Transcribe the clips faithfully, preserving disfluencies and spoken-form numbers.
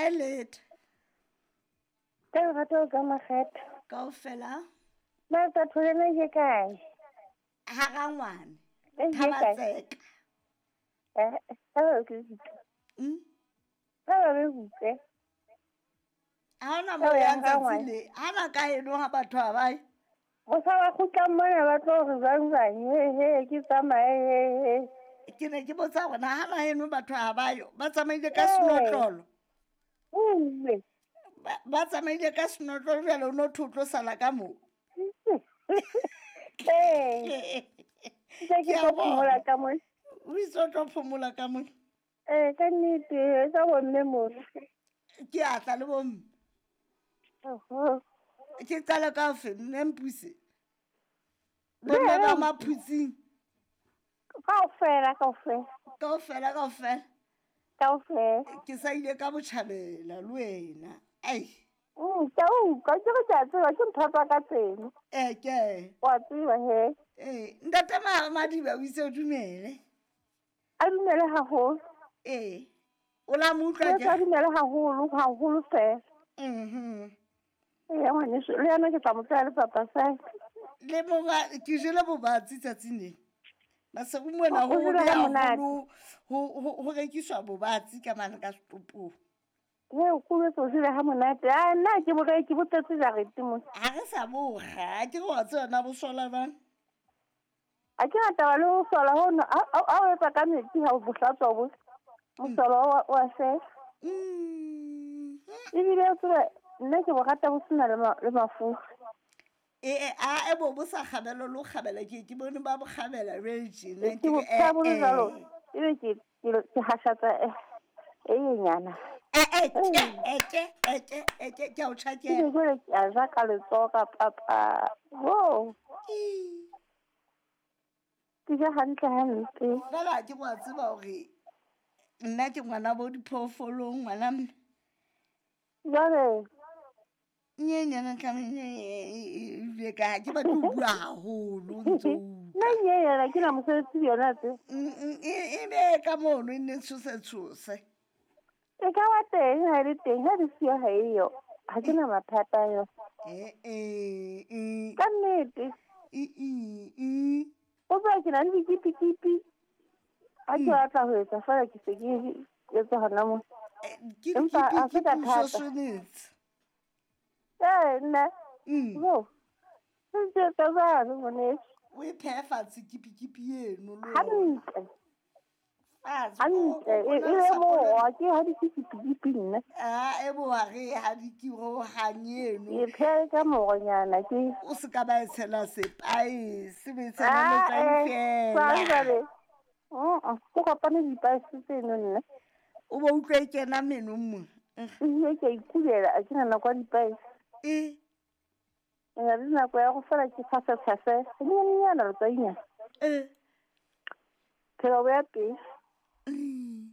Kae leta? Ka lerato ka makgetho. Kaofela. Na tsa tholena ke kae? Harangwane. Eh, ke kae? Thabatseka. Eh, ha ba ke utlwe. Mm? Ha ba be utlwe. Ha hona Ha moo o o yang yang tsatsi Rangwane. le. Ha na ka heno ha batho ha ba ye. Mohla ba kgutlang mona ba tlo re jwang jwang, he he ke tsamaye he he. Ke ne ke botsa hore na ha na heno batho ha ba yo. Ba tsamaile ka Ee. senotlolo. Uwe. Ba ba tsamaile ka senotlolo jwale o no thwe o tlo sala ka moo. Ee. Ntse ke Ke a tlo phomola bona. ka mona. O itse o tlo phomola ka mona. Ee, ka nnete, ka bomme mono. Ke a tla le bomme. Oho. Ke qala ka ofe mme Mpuse? Bomme ba Maphutsing. Kaofela, kaofela. Kaofela, kaofela. Kaofela. Ke sa ile ka botjhabela le wena. Ai. Mm, ke a utlwa, ke re ke a tseba, ke ntho tsa ka tseno. Eh, ke. Wa tseba he. Eh, ntate Ma- Madiba o itse o dumele. A dumele haholo. Eh. O la mo utlwa Ke ke? a dumele haholo, haholo fela. Mhm. Ee, ngwaneso, le yena ke tla mo tseya le papa sa. Le boba ke jele bobatsi tsatsing lena. Maseru mona O ho jele hobe ha monate. haholo ho ho ho rekiswa bobatsi ka mane ka setopong. He, o kubetse o jele ha monate. Ah, nna ke bo ke bo tletse jarete mona. Ha re sa bo kga, ke re wa tseba na bo sola jwang? Ha ke na taba le ho sola hono, ha ha o etsa ka metsi ha o bo hlatswa bo. Mosolo wa wa fela. Mm. Ebile o tsebe nna ke bo rata bo sena le ma- le mafura. Eh, eh, a e bo bo sa kgabela le ho kgabela ke ke bone ba bo kgabela jwale tjena Ke ke bo re eh pheha bo le jwalo, eh. ebe ke ke ke hashatsa eh e nyenyana. Eh eh ke eh ke eh ke eh ke ke a o Ebe tjhakela. jwale ke a ja ka letsoho ka papa. Ho, Ii. ke ja hantle hampe. Jwale ha ke wa tseba hore nna ke ngwana bo diphoofolong ngwana mme. Jwale Nyenyana tlamehile ka ha ke batle ho bua haholo o ntso nna utlwa. nyenyana ke na mosebetsi le yona tse. Mm, mm, e e be ka mono e nne tshose tshose. E ka ba teng ha e le teng, ha le siyo ha eyo. Ha ke na mathata a yona. Eh eh eh. Ka nnete. E e e. O tseba ke na le dikipikipi. Ha ke batla ho etsa feela ke se ke etsa hona moo. Eh, Ke Empa ha se ka dikipikipi thata. shosonetse. Ee, nna. Mm. Ho. Ntse etsa jwalo ngwaneso. O e phehe fatshe kipikipi eno le yona. Hantle. Fatshe. Hantle. O- o- E o na e le be sapo le- mowa ke ha dikipikipi nna. Ah, e bo ha re ha di ke ho hang eno. Ke phehe ka moronyana ke. O se ka ba e tshela sepaese, o e tshela Ah, letswai eh, jwang feela. jwale? Mm, ke kopane dipaese tseno nna. O bo utlwe e kena menong mona. Ebile ke a ikulela, ha ke na nako ya dipaese. E Ke na le nako ya go fela ke tshase-tshase. Hanyenyana letswainyana. eh. Phela bo ya pele. Mm.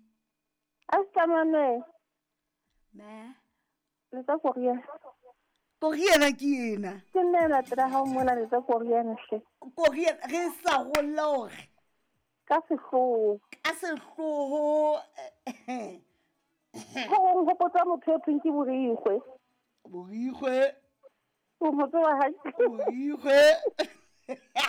A se tlamane Ma. letsa koriana. Koriana ke ena. Ke nna e latela hao mona letsa koriana hle. Koriana re sa golla hore Ka sehloho. ka sehloho eh, Ho hong hopotsa motho e thweng ke Borikgwe. Borikgwe, O mo tseba hantle. Borikgwe.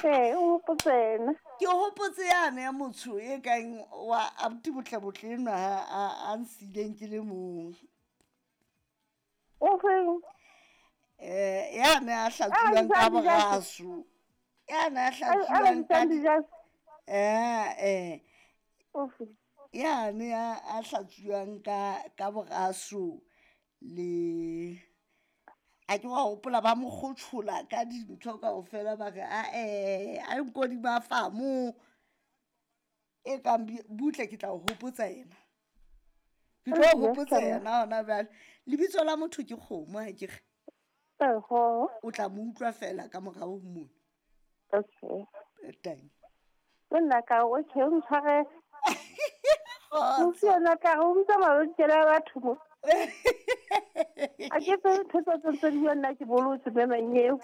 Ee, o hopotse yena. Ke hopotse yane ya motho e kang wa abuti botle botle enwa a a a nsileng ke le mong. O feng? Eh yane a hlatsuwang ka A bitsang dijase. boraso. Yane a A a hlatsuwang ka bitsang di- dijase. eh eh O feng? yane a a hlatsuwang ka ka boraso le a ke wa hopola ba mo kgothola ka dintho kaofela ba re a eh a nkodi ba famo e kang bi- butle ke tla o hopotsa yena ke tlo o Yes, hopotsa mama. yena hona jwale lebitso la motho ke kgomo ha ke re Oho. o tla mo utlwa fela ka morao ho mona Okay. Eh, tang Le nna ka re, okay, o ntshware. Kgotso. Mosi yena ka re o bitsa mabenkele a batho mo. A ke tsebe ntho tse tse ntse di bua nna ke bolotse mme manyeo.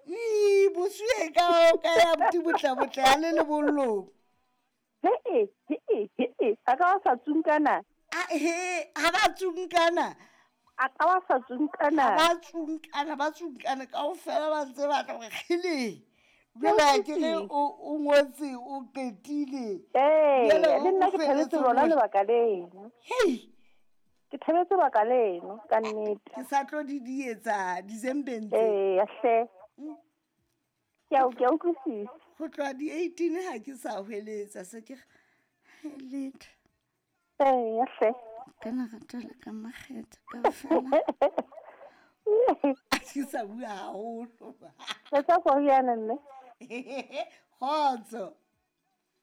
Ii, bosue ka ka ya abuti botle botle ha le lebollong He-e, he-e, he-e. A ka ba sa tsunkana. A he ha ba tsunkana A ka ba sa tsunkana. Ba tsunkana, ba tsunkana kaofela, ba ntse ba tla gore kgele. Jwale ha ke re o o ngotse o qetile. Ee, Jwale le nna o ke thabetse felletse lona mona. lebaka leno. Hei, Ke thabetse baka leno ka nnete. Ke sa tlo di di etsa December tse. Ee, hle. Ke a ke a utlwisisa. Go tloha di-eighteen ha ke sa hweletsa se ke re, letho. Ee, hle. Ka lerato le ka makgethe kaofela. A ke sa bua haholo. Etsa koriana mme. Kgotso.